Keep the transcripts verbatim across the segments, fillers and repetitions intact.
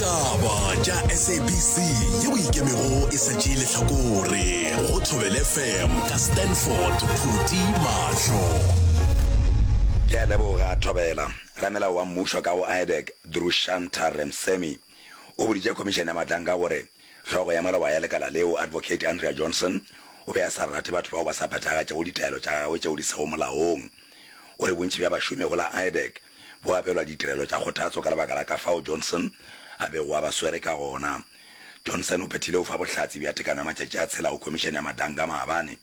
Ditaba tša S A B C yeo ikemego e sa tšee lehlakore go Thobela F M ka Stanford Phuti Mahlo. Ke a leboga, Thobela. Ramelao wa mmušo ka go IDAC, Drushantha Ramsamy, o boditše Khomišene ya Matlanka gore hlogo ya maloba ya lekala leo, Advocate Andrea Johnson, o be a sa rate batho bao ba sa phethagatšego ditaelo tša gagwe tšeo di sego molaong. O re bontši bja bašomi go la IDAC bo abelwa ditirelo tša kgothatso ka lebaka la ka fao Johnson a bego a ba swere ka gona. Johnson o phethile go fa bohlatse bja tekano ya matšatši a tshela go Khomišene ya Madanga maabane,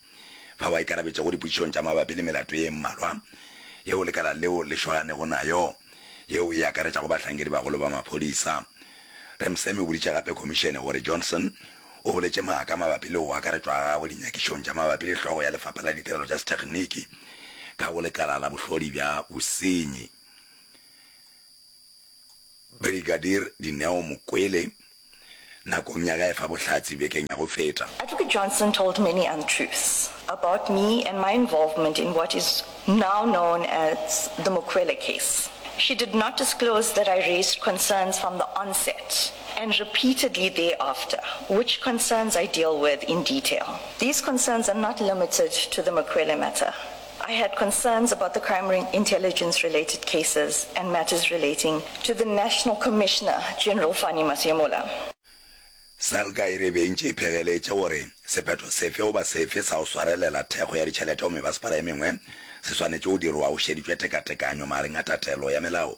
fao a ikarabetšego dipotšišong tša mabapi le melato ye mmalwa yeo lekala leo le šoganego nayo, yeo e akaretšago bahlankedi-bagolo ba maphodisa. Ramsamy o boditše gape khomišene gore Johnson o boletše maaka mabapi le go akaretšwa ga gagwe dinyakišong tša mabapi le hlogo ya lefapha la ditirelo tša sethekgniki ka go lekala la bohlodi bja bosenyi, Brigadier Dineo Mokwele, nakong ya ge a efa bohlatse bekeng ya go feta. Advocate Johnson told many untruths about me and my involvement in what is now known as the Mokwele case. She did not disclose that I raised concerns from the onset and repeatedly thereafter, which concerns I deal with in detail. These concerns are not limited to the Mokwele matter. I had concerns about the crime intelligence related cases and matters relating to the National Commissioner, General Fannie Masemola. SALGA e re be e ntše e phegeletše gore sephetho sefe goba sefe sa go swarelela thekgo ya ditšhelete go mebasepala e mengwe se swanetše go dirwa go šeditšwe tekatekanyo magareng a tatelo ya melao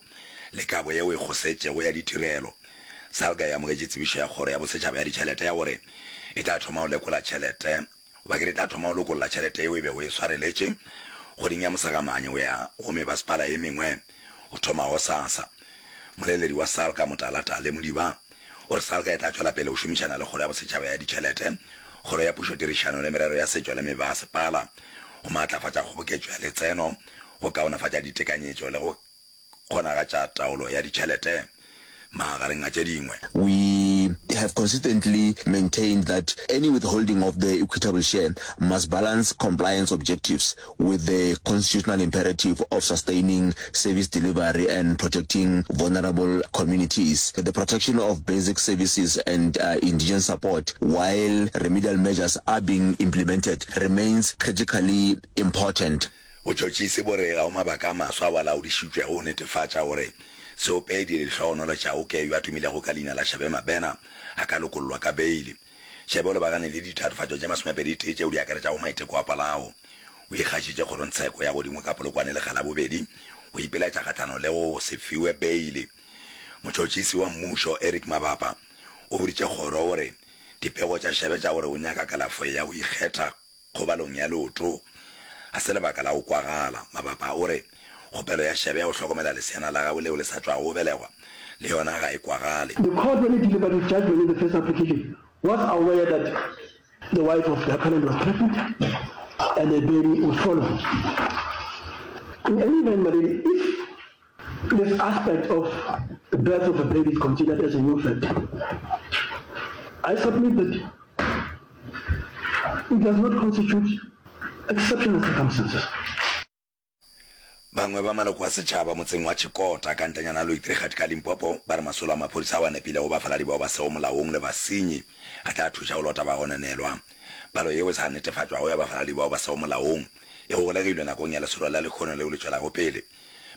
le kabo yeo e kgosetšego ya ditirelo. SALGA e amogetše tsebišo ya Kgoro ya Bosetšhaba ya Ditšhelete ya gore e tla thoma go lekola tšhelete goba ke re e tla thoma go lokolla tšhelete yeo e bego e swareletše kgweding ya Mosegamanye go ya go mebasepala e mengwe go thoma gosasa. Moleledi wa SALGA Motala Tale Modiba o re SALGA e tla tšwela pele go šomišana le Kgoro ya Bosetšhaba ya Ditšhelete, Kgoro ya Pušotirišano le Merero ya Setšo le Mebasepala go maatlafatša kgoboketšo ya letseno, go kaonafatša ditekanyetšo le go kgonagatša taolo ya ditšhelete, magareng a tše dingwe. We have consistently maintained that any withholding of the equitable share must balance compliance objectives with the constitutional imperative of sustaining service delivery and protecting vulnerable communities. The protection of basic services and uh, indigent support while remedial measures are being implemented remains critically important. Botšhotšhisi bo re ga go mabaka a maswa ao a laodišitšwego go netefatša gore seopedi Lehlohonolo Chauke yo a tumilego ka leina la Shebe Mabena a ka lokollwa ka beili. Shebe o lebagane le ditatofatšo tše masomepedi tee tšeo di akaretšago maiteko a polao. O ikgašitše kgorongtsheko ya godimo ka Polokwane lekga la bobedi go ipilaetša kgahlano le go se fiwe beili. Motšhotšhisi wa mmušo Eric Mabapa o boditše kgoro gore dipego tša Shebe tša gore o nyaka kalafo ya go ikgetha kgobalong ya leoto ga se lebaka la go kwagala. Mabapa o re kgopelo ya Shebe ya go hlokomela leseana la gagwe leo le sa tšwago go belegwa le yona ga e kwagale. The court, when it delivered its judgment in the first application, was aware that the wife of the appellant was pregnant and a baby would follow. In any event, my lady, if this aspect of the birth of a baby is considered as a new fact, I submit that it does not constitute exceptional circumstances. Bangwe ba maloko a setšhaba motseng wa Tshikota ka ntlenyana ya Loitrigat ka Limpopo ba re masolo a maphodisa ao a nepilego bafaladi bao ba sego molaong le basenyi a tla thuša go lota bagononelwa. Palo yeo e sa netefatšwago ya bafaladi bao ba sego molaong e golegilwe nakong ya lesolo la lehono leo le tšwelago pele.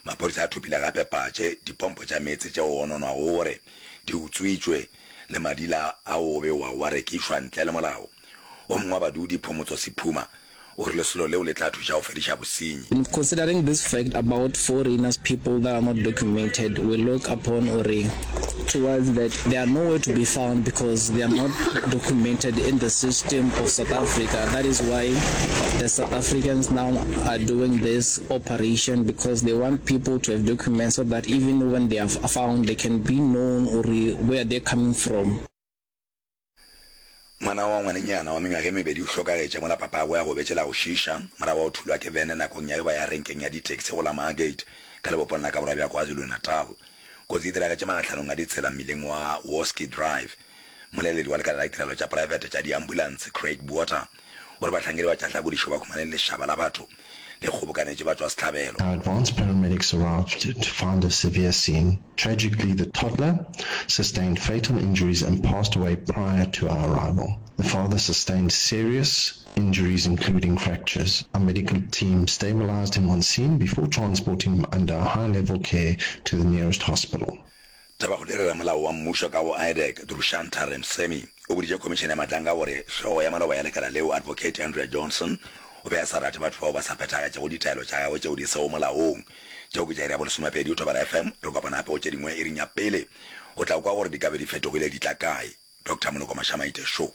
Maphodisa a thopile gape patše, dipompo tša meetse tšeo go gononwago gore di utswitšwe le madila ao go bewago a rekišwa ntle le molao. O mongwe wa badudi, Phomotso Sephuma, o re lesolo leo le tla thuša go fediša bosenyi. Considering this fact about foreigners people that are not documented, we look upon ore towards that they are nowhere to be found because they are not documented in the system of South Africa. That is why the South Africans now are doing this operation, because they want people to have documents so that even when they are found they can be known ore where they're coming from. Ngwana wa ngwanenyana wa mengwaga e mebedi o hlokagetše mola papagwe a gobetše la go šiiša morago ga go thulwa ke bene nakong ya ge ba ya renkeng ya ditaxi go la Margate ka lebopong la ka borwa bja KwaZulu-Natal. Kotsi e diragetše magahlanong a ditsela mmileng wa Woski Drive. Mmoleledi wa lekala la ditirelo tša praebete tša diambulanse, Craig Botha, o re bahlankedi ba tša hlakodišo ba humane lešaba la batho le kgobokanetše batšwasehlabelo. Our advanced paramedics arrived to find a severe scene. Tragically, the toddler sustained fatal injuries and passed away prior to our arrival. The father sustained serious injuries including fractures. Our medical team stabilized him on scene before transporting him under high-level care to the nearest hospital. Tabakgolo e re Ramolao wa Mmušo ka go IDAC, Drushantha Remsemi, o boditše Khomišene ya Matlanga gore hlogo ya maloba ya lekala leo, Advocate Andrea Johnson, o be a sa rate batho bao ba sa phethagatšego ditaelo tša gagwe tšeo di sego molaong. Tšeo ke tša iri ya bolesomepedi go Thobela FM. Re kopana gape go tše dingwe iring ya pele. O tla kwa gore di ka be di fetogile di tla kae. Doctor Moloko Mashamaite Show.